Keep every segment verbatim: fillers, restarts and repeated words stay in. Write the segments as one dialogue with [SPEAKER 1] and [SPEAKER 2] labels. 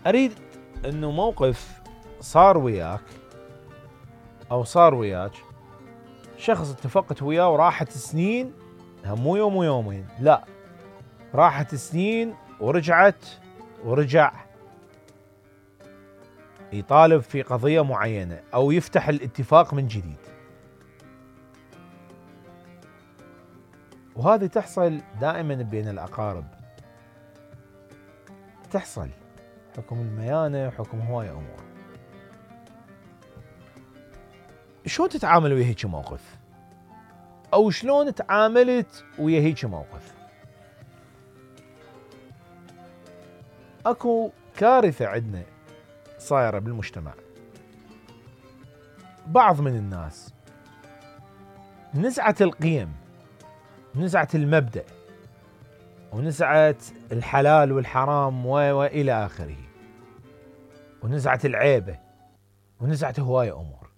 [SPEAKER 1] اريد انه موقف صار وياك او صار وياك، شخص اتفقت وياه وراحت سنين، مو يوم ويومين، لا راحت سنين ورجعت ورجع يطالب في قضية معينة او يفتح الاتفاق من جديد. وهذه تحصل دائما بين الاقارب، تحصل حكم الميانة، حكم هواية امور. شلون تتعامل ويا هيك موقف؟ او شلون تعاملت ويا هيك موقف؟ اكو كارثة عندنا صايرة بالمجتمع. بعض من الناس نزعة القيم، نزعة المبدأ، ونزعة الحلال والحرام وإلى آخره، ونزعة العيبة، ونزعة هواية أمور،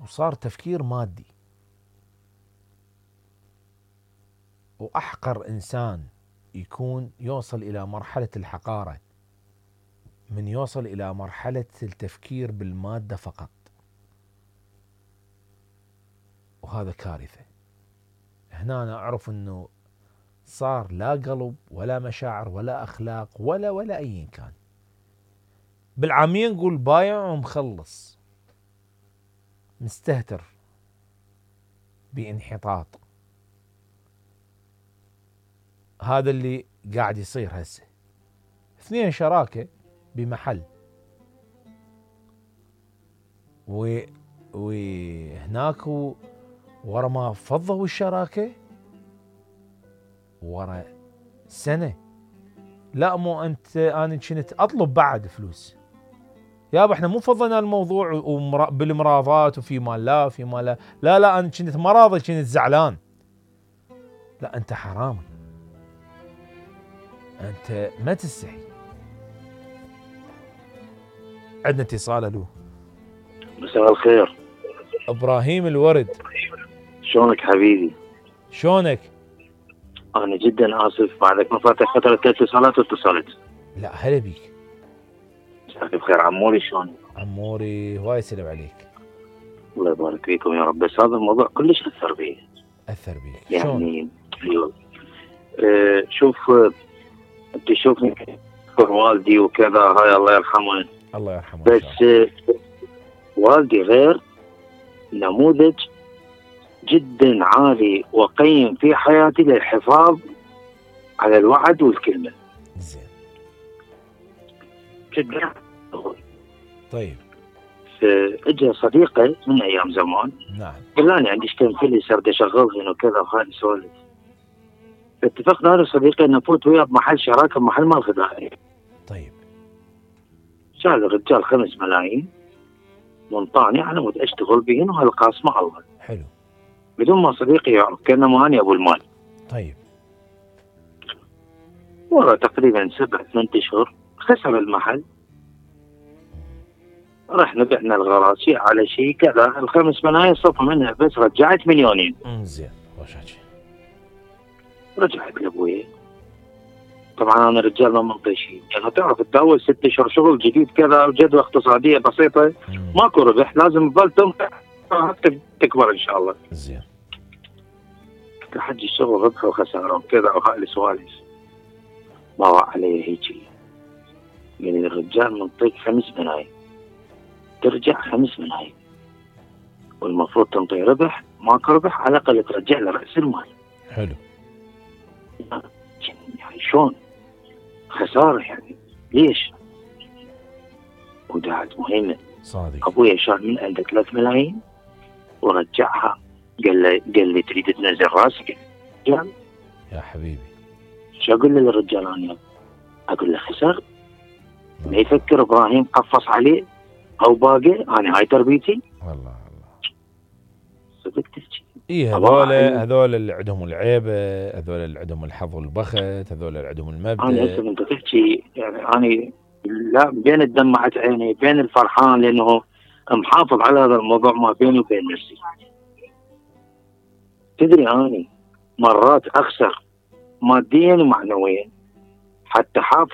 [SPEAKER 1] وصار تفكير مادي. وأحقر إنسان يكون يوصل إلى مرحلة الحقارة من يوصل إلى مرحلة التفكير بالمادة فقط، وهذا كارثة. هنا أنا أعرف أنه صار لا قلب ولا مشاعر ولا أخلاق ولا ولا أي كان. بالعامية نقول بايع ومخلص، مستهتر بانحطاط. هذا اللي قاعد يصير هسه. اثنين شراكة بمحل، و وهناك ورا ما فضوا الشراكة ورا سنة، لا مو انت انا كنت اطلب بعد فلوس يابا، احنا مو فضينا الموضوع بالمراضات وفي مال لا في مال لا لا لا انا كنت مراضي، كنت زعلان. لا انت حرامي، انت ما تستحي. عندنا اتصال. الو،
[SPEAKER 2] مساء الخير.
[SPEAKER 1] ابراهيم الورد،
[SPEAKER 2] شلونك حبيبي؟
[SPEAKER 1] شلونك؟
[SPEAKER 2] انا جدا اسف بعدك ما فاتك فتره اتصالات واتصلت.
[SPEAKER 1] لا هلا بيك.
[SPEAKER 2] مساك بخير عموري، شلونك؟
[SPEAKER 1] عموري هواي سلام عليك.
[SPEAKER 2] الله يبارك فيكم يا رب. بس هذا الموضوع كلش اثر بي.
[SPEAKER 1] اثر بيك
[SPEAKER 2] يعني ايوه. اه شوف اه انت شوفني والدي وكذا، هاي الله يرحمه.
[SPEAKER 1] الله يرحمه.
[SPEAKER 2] بس اه والدي غير نموذج جدا عالي وقيم في حياتي للحفاظ على الوعد والكلمة.
[SPEAKER 1] زين.
[SPEAKER 2] جدا.
[SPEAKER 1] طيب.
[SPEAKER 2] فاجى صديقي من ايام زمان.
[SPEAKER 1] نعم.
[SPEAKER 2] قال لي عندي كم فيليسر بدي اشغلهن وكذا وهاي السوالف. اتفقنا انا وصديقي ان نفوت وياه بمحل شراكه بمحل مال غذائي.
[SPEAKER 1] طيب.
[SPEAKER 2] شال الرجال خمس ملايين وانطاني على مود اشتغل بهن وهالقاس مع الله.
[SPEAKER 1] حلو.
[SPEAKER 2] بدون ما صديقي يعرف، كانما اني ابو المال.
[SPEAKER 1] طيب.
[SPEAKER 2] ورا تقريبا سبع ثمان اشهر خسر المحل. رحنا بعنا الغراض شيء على شيء كذا، الخمس ملايين صفى منها بس رجعت مليونين.
[SPEAKER 1] زين وشاكي.
[SPEAKER 2] رجعت لابوي. طبعا انا رجال ما منطي شيء، يعني تعرف انت اول ست اشهر شغل جديد كذا وجدوى اقتصاديه بسيطه ماكو ربح، لازم تظل تنقع حتى تكبر ان شاء الله.
[SPEAKER 1] زين.
[SPEAKER 2] لحد الشغل ربح وخساره وكذا وهاي السوالف. ما وقع علي هيجي. يعني الرجال منطيك خمس ملايين ترجع خمس ملايين، والمفروض تنطي ربح، ماكو ربح على الاقل ترجع لراس المال.
[SPEAKER 1] حلو.
[SPEAKER 2] يعني شلون؟ خساره يعني ليش؟ ودعت مهمه.
[SPEAKER 1] صادق.
[SPEAKER 2] ابويا شال من عنده ثلاث ملايين ورجعها. قال لي قال لي تريد تنزل راسك؟ قال
[SPEAKER 1] يا حبيبي
[SPEAKER 2] شو اقول للرجال انا؟ اقول له خسر؟ ما يفكر ابراهيم قفص عليه او باقي، انا هاي تربيتي.
[SPEAKER 1] والله والله
[SPEAKER 2] صدق تحكي.
[SPEAKER 1] اي هذول هذول اللي عندهم العيبه، هذول اللي عندهم الحظ والبخت، هذول اللي عندهم المبدا.
[SPEAKER 2] انا هسه انت تحكي يعني انا لا بين الدمعة عيني بين الفرحان لانه محافظ على هذا الموضوع ما بيني وبين نفسي. تدري اني مرات اخسر ماديا ومعنويا حتى حافظ